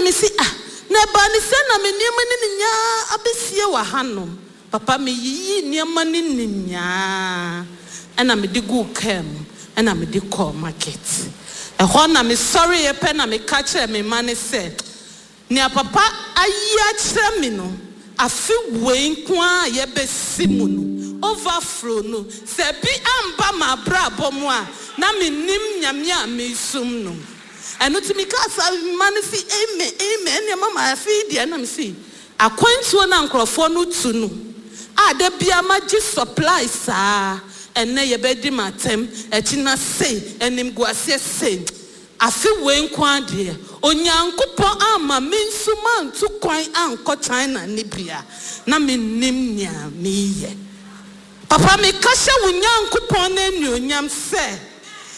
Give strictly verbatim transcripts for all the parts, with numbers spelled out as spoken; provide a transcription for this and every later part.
Ɛna mese, "Ah, na ɛbaa ne sɛ na me nneɛma no nyinaa abɛsie wɔ hanom?" Papa, meyiyii nneɛma no nyinaa ɛna mede guu kaa mu ɛna mede kɔɔ market. Ɛhɔ na mesɔreeɛ pɛ na meka kyerɛ me ma ne sɛ nea papa ayi akyerɛ me no, afe wei nko a yɛbɛsi mu no, overflow no, sɛ bi amba m'abrabɔ mu a, na mennim Nyame a mesum no. Ɛno nti meka saa ma no si, "Amen, amen." Ɛnneɛ mama, afei deɛ na mesi akwantuo no a nkurɔfoɔ no tu no a, da bia magye supply saa, ɛnɛ yɛbɛdi m'atɛm, akyi na sei, animguaseɛ sei, afe wei nko adeɛ, Onyankopɔn ama me nso mantu kwan ankɔ China ne bia na mennim nea meyɛ. Papa, meka hyɛ wo Nyankopɔn no anuonyam sɛ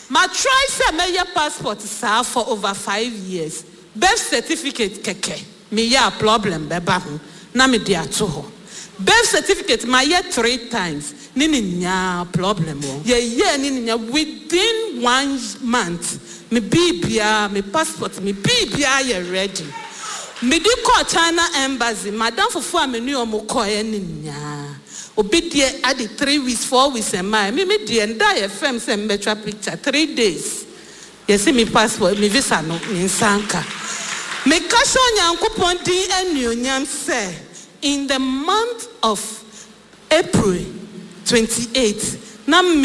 ma try sɛ mɛyɛ passport saa for over five years. Birth certificate kɛkɛ meyɛ a, problem bɛba ho na mede ato hɔ. Birth certificate mayɛ three times ne ne nyinaa problem wɔ. Yɛyɛ ne nyinaa within one month, me biribiara, me passport, me biribiara yɛ ready. Mede kɔɔ China embassy. Madam fufuo a me ne ɔmo kɔɛ ne nyinaa, obi deɛ ade three weeks, four weeks ɛmaa me. Me deɛ, nda yɛ fɛm sɛ mbɛtwa picture, three days yɛsi mi passport, mi visa no, mi nsa nka. Meka hyɛ Onyankopɔn din anuonyam sɛ in the month of April twenty-eight na me